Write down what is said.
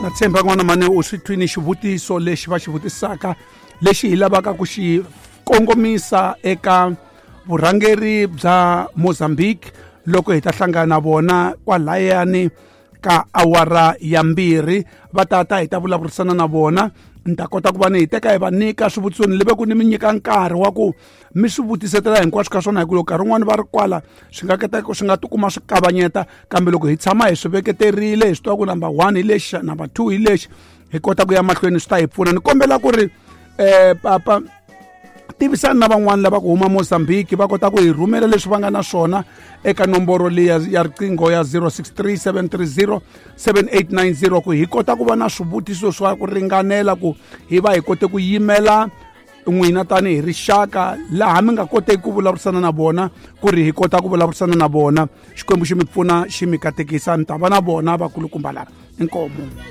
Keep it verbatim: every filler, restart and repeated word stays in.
Na tshemba n'wana mane u swi twini xivutiso lexi va xi vutisaka, lexi hi lavaka ku xi kongomisa eka vurhangeri bya Mozambique loko hi ta hlangana na vona kwalayani ka awara ya mbirhi. Va tata hi ta vulavurisana na vona, ni ta kota ku va ni hi teka hi va nyika swivutiso, ni leve ku ni mi nyika nkarhi wa ku mi swi vutisetela hinkwaswo ka swona, hi ku loko nkarhi wun'wani va ri kwala swi nga keta swi nga tikuma swi kavanyeta, kambe loko hi tshama hi swi veketerile, hi swi tiva ku number one hi lexi, number two hi lexi, hi kota ku ya mahlweni, swi ta hi pfuna. Ni kombela ku ri um papa tivisani na van'wani lava ku huma Mozambique va kota ku hi rhumela leswi va nga na swona eka nomboro leyi ya riqingho ya zero six three seven three zero seven eight nine zero, ku hi kota ku va na swivutiso swa ku ringanela ku hi va hi kote ku yimela n'wina tanihi rixaka laha mi nga koteki ku vulavurisana na vona, ku ri hi kota ku vulavurisana na vona. Xikwembu xi mi pfuna, xi mi katekisa. Mi ta va na vona vakulukumba lava. Inkomu.